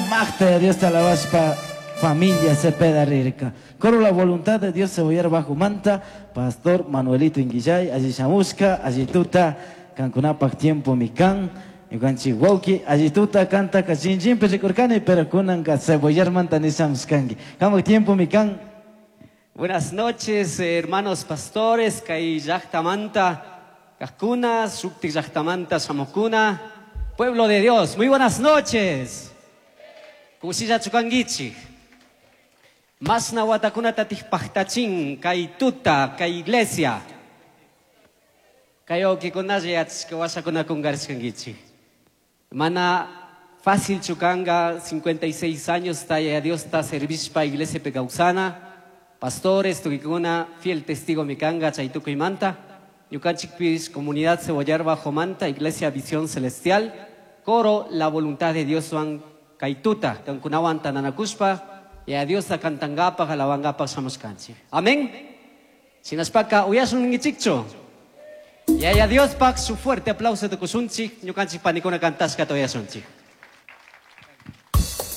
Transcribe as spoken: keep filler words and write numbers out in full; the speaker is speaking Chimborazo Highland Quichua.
Magta Dios te alabaspa familia Cepeda rirka. Coro la voluntad de Dios Cebollar bajo manta, Pastor Manuelito Inguillay, allí shamushka, allí tuta, kankunapak tiempo mikan, ñukanchik wawki, allí tuta kanta kachinchinpi rikurkani, pero kunanka Cebollar manta nishamushkanki. Kamak tiempo mikan. Buenas noches, hermanos pastores, kay llaktamanta, kajkuna, shuktik llaktamanta, shamukuna, pueblo de Dios, muy buenas noches. Kushilla chukankichik. Masna watakunata tiktpajtachin kay tuta, kay iglesia. Kay wawkikunalla yachashka washakuna kungarishkankichik. Mana fácil chukanga, cincuenta y seis años taya Dios ta servishpa iglesia kawsana. Pastores, tukikuna, fiel testigo mikanga, chaytukuymanta. Ñukanchikpis, comunidad Cebollar Bajo Manta, Iglesia Visión Celestial, coro La Voluntad de Dios wan kaytuta, kankunawan tananakushpa, y a Dios cantangapaj, alabangapaj shamushkanchik. Amén. Shinashpaka uyashun ningichikchu. Y a Dios pak su fuerte aplauso tukushunchik, ñukanchik panikuna kantashka uyashunchik.